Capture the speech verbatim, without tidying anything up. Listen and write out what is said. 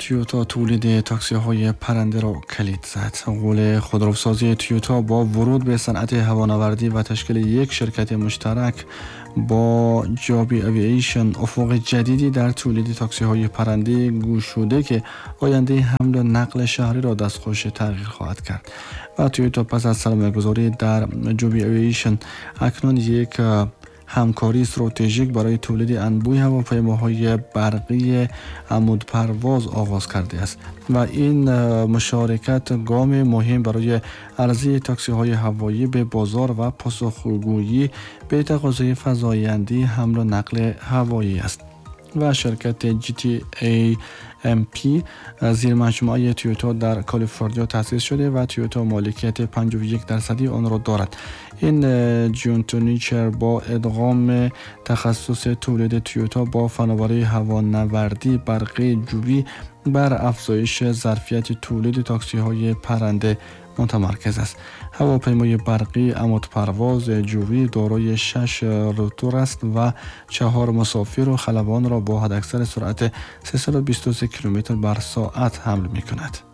تویوتا تولید تاکسی های پرنده را کلید زد. غول خودروسازی تویوتا با ورود به صنعت هوانوردی و تشکیل یک شرکت مشترک با جابی اوییشن افق جدیدی در تولید تاکسی های پرنده گشوده که آینده حمل و نقل شهری را دستخوش تغییر خواهد کرد. و تویوتا پس از سرمایه‌گذاری در جوبی اوییشن اکنون یک همکاری استراتژیک برای تولید انبوه هواپیماهای برقی عمود پرواز آغاز کرده است و این مشارکت گام مهم برای عرضه تاکسی های هوایی به بازار و پاسخگویی به تقاضای فزاینده حمل و نقل هوایی است. و شرکت جی تی ای ام پی زیر مجموعه تویوتا در کالیفرنیا تأسیس شده و تویوتا مالکیت پنجاه و یک درصدی آن را دارد. این joint venture با ادغام تخصص تولید تویوتا با فناوری هوانوردی برقی جویی بر افزایش ظرفیت تولید تاکسی های پرنده متمرکز است. هواپیمای برقی عمود پرواز جویی دارای شش روتور است و چهار مسافر و خلبان را با حداکثر سرعت سیصد و بیست و سه کیلومتر بر ساعت حمل می کند.